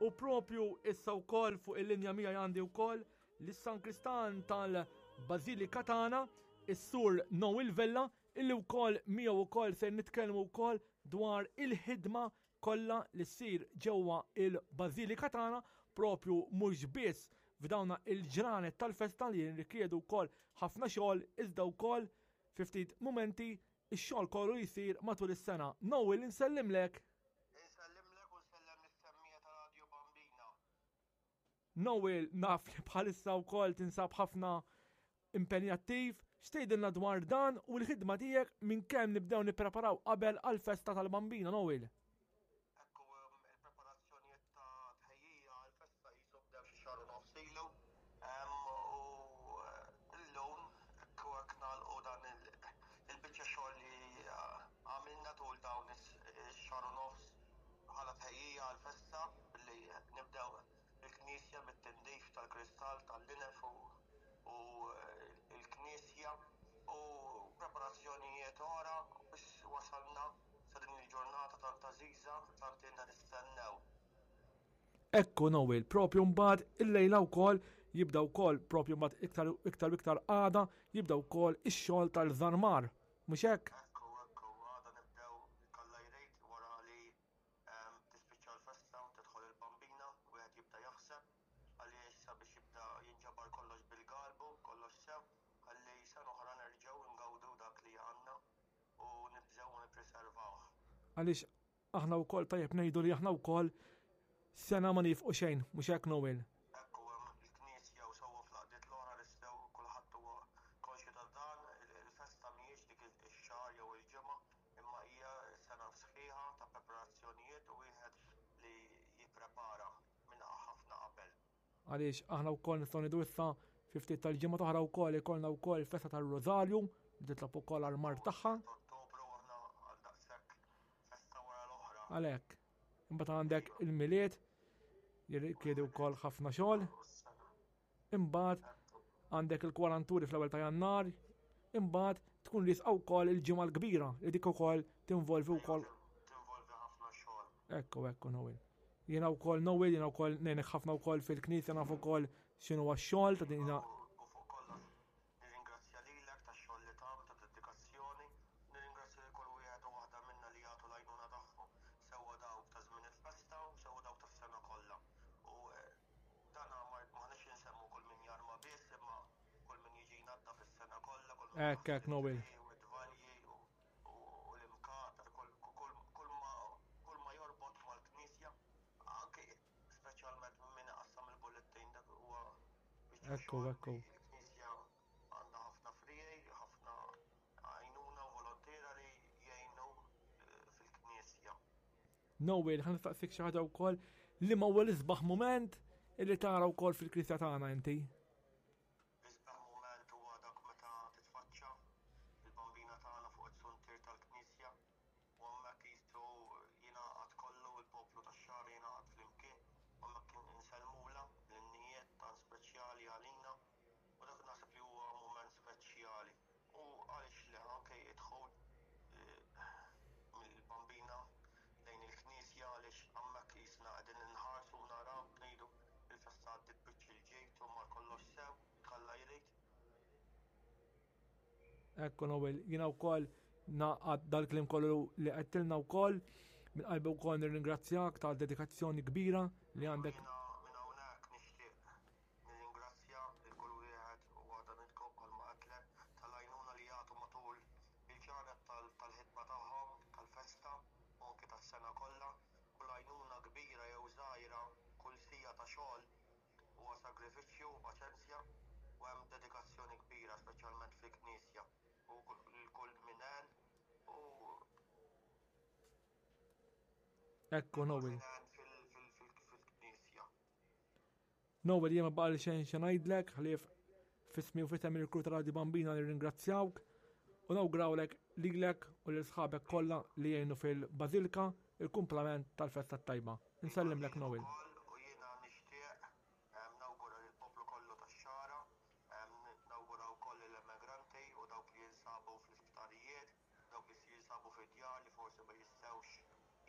U propju issa wkoll fuq il-linja miegħi għandi wkoll lis-Sankristan tal-Bażilika tagħna, is-Sur Noel Vella, illi wkoll miegħu wkoll se nitkellmu wkoll dwar il-ħidma kollha li ssir ġewwa il-Bażilika tagħna propju mhux biss f'dawna il-ġranet tal-festa li jirrikjedu wkoll ħafna xogħol iżda wkoll fi ftit mumenti ix-xogħol kollu jsir matul is-sena. Noel insellimlek. Insellimlek u nsellem lis-semmiegħa ta' Radio Bambina. Noel naf li bħalissa wkoll tinsab ħafna impenjattiv, x'tgħidilna dwar dan u l-ħidma tiegħek minn kemm nibdew nippreparaw qabel għall-festa tal-Bambina, Noel? Ekku, il-preparazzjonijiet ta' tħejjija għall-festa jisu bdew xi xahar u nofs ilu. U llum ekku hekk nagħlqu dan il-biċċa xogħol li għamilna tul dawn ix-xahar u nofs bħala tħejjija għall-festa billi nibdew il-knisja bit-tindif tal-kristall tal-linef u l-knisja u preparazzjonijiet oħra biex wasalna sa din il-ġurnata tant għażiża tant ilna nistennew. Ekku Noel, propju mbagħad illejla wkoll jibda wkoll propju mbagħad iktar iktar iktar għada jibda wkoll ix-xogħol tal-żarmar. Mhux hekk? Ekku, ekku, għada nibdew kalla jrid wara li tispiċċa l-festa u tidħol il-bambina, wieħed jibda jaħseb għaliex sabiex jibda jinġabar kollox bil-galbu, kollox sew, ħalli sena oħra nerġgħu ngawdu dak li għandna u nibżgħu u nippreservawh. Għaliex aħna wkoll tajjeb ngħidu li aħna wkoll sena ma nifqu xejn, mhux hekk Noel? Ekku hemm il-Knisja u sewwa fl-għaqdiet l-oħra nistgħu kulħadd huwa konxju ta' dan, il-festa mhijiex dik ix-xahar jew il-ġimgħa, imma hija sena sħiħa ta' preparazzjonijiet u wieħed li jipprepara minn ħafna qabel. Għaliex aħna wkoll nistgħu ngħidu issa fi ftit tal-ġimgħa oħra wkoll ikollna wkoll festa tar-Rożarju li titlob ukoll għall-mard tagħha. Ottubru aħna għal daqshekk festa wara l-oħra. Għalhekk. Imbagħad għandek il-Milied jirrikjedi wkoll ħafna xogħol. Imbagħad għandek il-kwaranturi fl-ewwel ta' Jannar, imbagħad tkun riesqa wkoll il-ġimgħa l-kbira li dik ukoll tinvolvi wkoll. Tinvolvi ħafna xogħol. Ekku, ekku, Noel. Jiena wkoll Noel, jiena wkoll ngħinek ħafna wkoll fil-knisja naf ukoll x'inhu x-xogħol ta' din U fuq kollox nirringrazzja lilek tax-xogħol li tagħmel ta' dedikazzjoni, nirringrazzja lil kull wieħed u waħda minna li jagħtu l-għajnuna tagħhom, sewwa dawk ta' żmien il-festa u sewwa dawk tas-sena kollha. U Dan m'aħniex insemmu kull min jarma biss imma kull min jiġi jnaddaf is-sena kollha, kull min Hekk hekk Noel. U d-dvalji u l-imkatar, kull ma jorbot mal-knisja, anke speċjalment min iqassam il-bullettin dak huwa biċċa xogħol. Ekku, ekku. Il-knisja għandha ħafna friegħi, ħafna għajnuna u volontiera li jgħinu fil-knisja. Noel, ħa nistaqsik xi ħaġa wkoll li ma huwa l-isbaħ mument illi tara wkoll fil-Knisja tagħna inti. L-isbaħ mument huwa dak meta titfaċċa il-bambina tagħna fuq it-suntier tal-Knisja u hemmhekk qisu jingħaqad kollu il-poplu tax-Xagħra jingħaqad flimkien u hemmhekk insellmulha bl-innijiet tant speċjali għalina u dak naħseb li huwa mument speċjali. U għaliex le anke id-dħul mill-Bambina lejn il-knisja għaliex hemmhekk qisna qegħdin inħarsu u naraw ngħidu il-festa għaddiet biċċ il-ġid u mar kollox sew, jekk Alla jrid. Ekku Noel, jiena wkoll naqgħad dal-kliem kollu li għedtilna wkoll, minn qalbi wkoll nirringrazzjak tal-dedikazzjoni kbira li għandek. Jiena minn hawnhekk nixtieq Nirringrazzja lil kull wieħed u waħda minnkom bħalma għedtlek tal-għajnuna li jagħtu matul il-ġranet tal-ħidma tagħhom, tal-festa u anki tas-sena kollha. Kull għajnuna kbira jew żgħira, kull siegħa ta' xogħol huwa sagrifiċċju u paċenzja u hemm dedikazzjoni kbira speċjalment fil-Knisja u lil kull min għen u Ekku Noel. Min għen fil-Knisja. Noel jien ma baqali xejn xi ngħidlek ħlief f'ismi u f'isem il-crew ta' Radio Bambina nirringrazzjawk u nawgurawlek lilek u lil sħabek kollha li jgħinu fil-Bażilka il-kumplament tal-festa t-tajba. Insellimlek Noel. U jiena nixtieq nawgura lill-poplu kollu tax-Xagħra, nawgura wkoll lill-emigranti u dawk li jinsabu fl-isptarijiet, dawk li jinsabu fid-djar li forsi ma jistgħux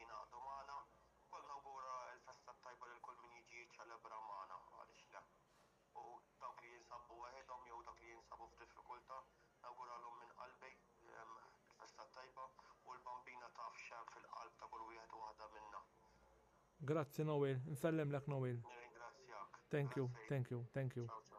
jingħaqdu magħna. Ukoll nawgura l-festa t-tajba lil kull min. Grazzi Noel, nsellimlek Noel. Nirringrazzjak. Thank you, Grazzi. thank you, thank you. Ciao, ciao.